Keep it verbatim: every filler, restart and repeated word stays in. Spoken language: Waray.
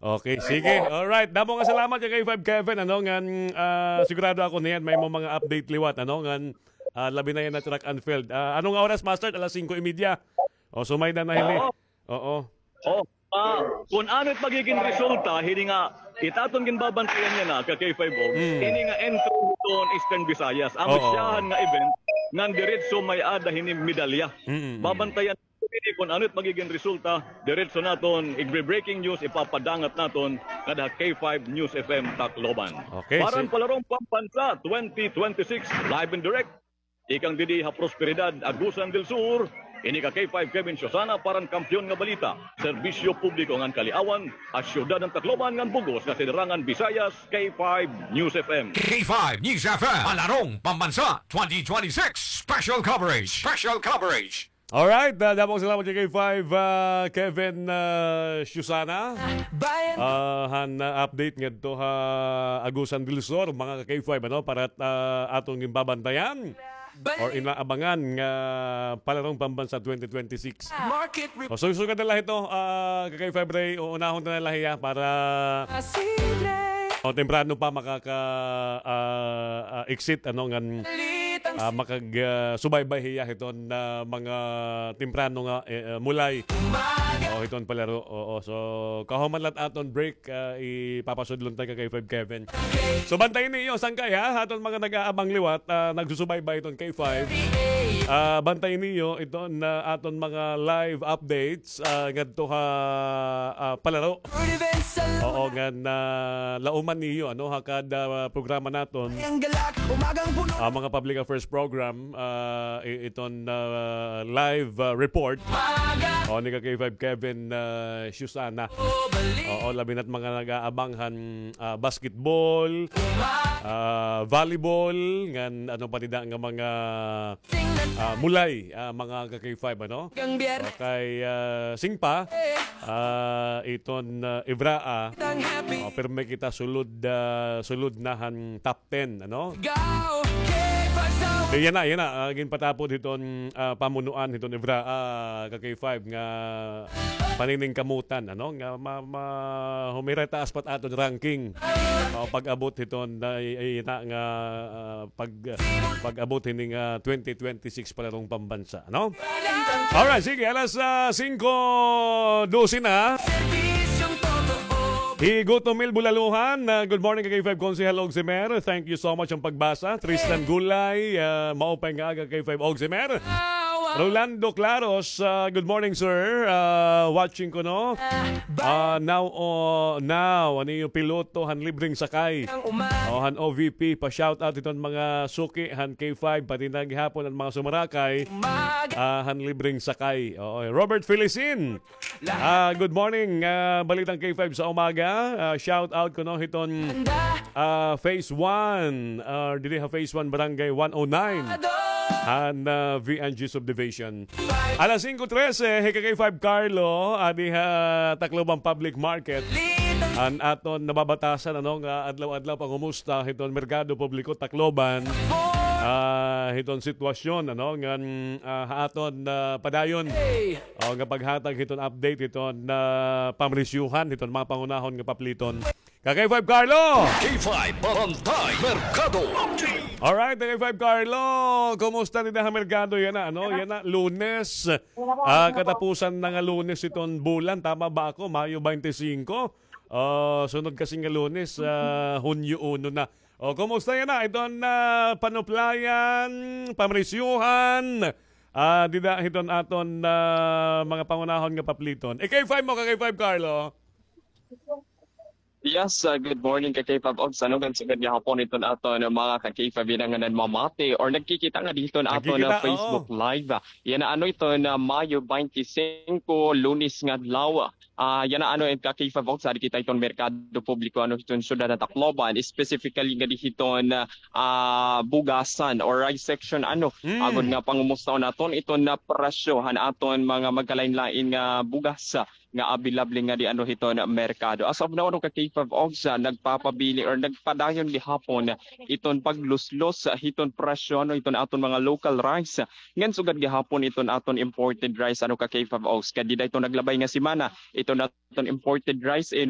Okay, sige. Alright. Damo nga salamat ka K five Kevin, ano, ngan, ah, sigurado ako niyan, may mo mga update liwat, ano, ngan, ah, labi na yana track and field. Ah, ano nga oras, Master? Alas singko y media. O, sumay na na hini. Oo. Oo. Oh, ah, kun ano it magigin resulta, hini nga, it aton ginbabantayan yana, ka K five Ogs, Mm. ini nga entry hiton Eastern Visayas, ang Oo. Bisyahan nga event, ngan diretso may-ada hini medalya. Mm, mm. Babantayan Kun ano it magigin resulta, diretso naton igbe-breaking news, ipapadangat naton ngada ha K five News F M Tacloban. Okay, para han Palarong Pambansa twenty twenty-six, live and direct. Tikang didi ha Prosperidad, Agusan del Sur, ini ka K five Kevin Susana para han Kampiyon nga Balita, Serbisyo Publiko ngan Kaliawan, ha syudad han Tacloban ngan bug-os nga Siderangan Visayas, K five News F M. K five News F M, Palarong Pambansa twenty twenty-six, special coverage, special coverage. Alright, ah, damo nga salamat kay K five, ah, Kevin, ah, Susana. Ah, han, ah, update ngadto ha Agusan del Sur, mga ka K five, ano, para, ah, aton ginbabantayan or inaabangan nga Palarong Pambansa twenty twenty-six. O, so, sugad na la hito, ah, ka K five Ray, uunahon na la hiya para, o, temprano pa makaka, ah, ah, exit, ano, ngan ah, makag, ah, subaybay hiya hiton, ah, mga temprano nga, eh, ah, mulay. O, hiton palaro. Oo, so, kahuman la it aton break, ah, ipapasudlon ta ka K five Kevin. So, bantayi niyo, sangkay, ha? Aton mga nag-aabang liwat, ah, nagsusubaybay hiton K five. Ah, bantayi niyo iton, ah, aton mga live updates, ah, ngadto ha, ah, palaro. Oo, ngan, ah, lauman niyo, ano, ha kada programa naton. Ah, mga public affairs program, ah, i-, iton, ah, live, ah, report. O, ni ka K five Kevin, ah, Susana. Oo, labi na't mga nag-aabang han, ah, basketball, ah, volleyball, ngan ano pa dida nga mga, ah, mulay, ah, mga ka K five, ano? Okay, ah, singpa, ah, iton, ah, Evraa, ah, pirme kita sulod, ah, sulod na han top ten, ano? Yana, yana, ah, ginpatapod hiton, ah, pamunuan hiton Evraa, ah, ka K five nga paniningkamutan, ano, nga ma-, ma-, humiray taas pa it aton ranking. O, pag-abot hiton, ah, y-, y-, yana nga, ah, pag, pag-abot hini nga twenty twenty-six Palarong Pambansa, no? Alright, sige, alas, ah, singko dose na. Hi Guto Mil Bulaluhan, ah, good morning ka K five Konsehal Ogsimer. Thank you so much han pagbasa. Tristan Gulay, ah, maupay nga aga K five Ogsimer. Rolando Claros, ah, good morning, sir. Ah, watching kuno. Ah, now, oh, now, ano yung piloto han libreng sakay? O, han O V P, pa-shoutout hiton mga suki han K five, pati na gihapon an mga sumarakay, ah, han libreng sakay. Oo, Robert Felicin. Ah, good morning, ah, Balitang K five sa umaga. Ah, shout out kuno hiton, ah, phase one, ah, diri ha phase one, Barangay one oh nine. Han, ah, V N G Subdivision. Alas singko trese, hi ka K five Carlo, adi ha Tacloban Public Market. An aton nababatasan, ano, nga adlaw-adlaw pangumusta hiton Merkado Publiko Tacloban. Ah, hiton sitwasyon, ano, ngan, ah, ha aton, ah, padayon. O, nga paghatag hiton update hiton, ah, pamresyuhan hiton mga pangunahon nga papliton. Ka K five Carlo! K five Barangay Merkado Update. Alright, K five Carlo, kumusta dida ha merkado? Yana, ano? Yana, Lunes. Ah, katapusan na nga Lunes hiton bulan. Tama ba ako? Mayo twenty-cinco. Ah, sunod kasi nga Lunes, ah, Hunyo uno na. O, kumusta yana? Iton, ah, panuplayan, pamresyuhan, ah, dida hiton aton, ah, mga pangunahon nga papliton. I K five mo, ka K five Carlo. Yes, ah, good morning ka K five Ogs. Ano, ngan sugad gihapon iton aton mga ka K five nga nananamati or nagkikita ngadi hiton aton, ah, Facebook Live. Yana, ano, iton Mayo twenty-cinco, Lunes nga adlaw. Ah, yana, ano, ka K five Ogs, adi kita hiton Merkado Publiko, ano, hiton syudad han Tacloban, specifically ngadi hiton, ah, bugasan or rice section, ano, agod nga pangumustahon naton iton presyo han aton mga magkalain-lain nga bugas, ah, nga available ngadi, ano, hiton merkado. As of now, ano, ka K five Ogs, ah, nagpapabili or nagpadayon gihapon iton pagluslos, ah, hiton presyo, ano, hiton aton mga local rice. Ngan sugad gihapon iton aton imported rice, ano, ka K five Ogs. Kay dida hiton naglabay nga semana, iton aton imported rice in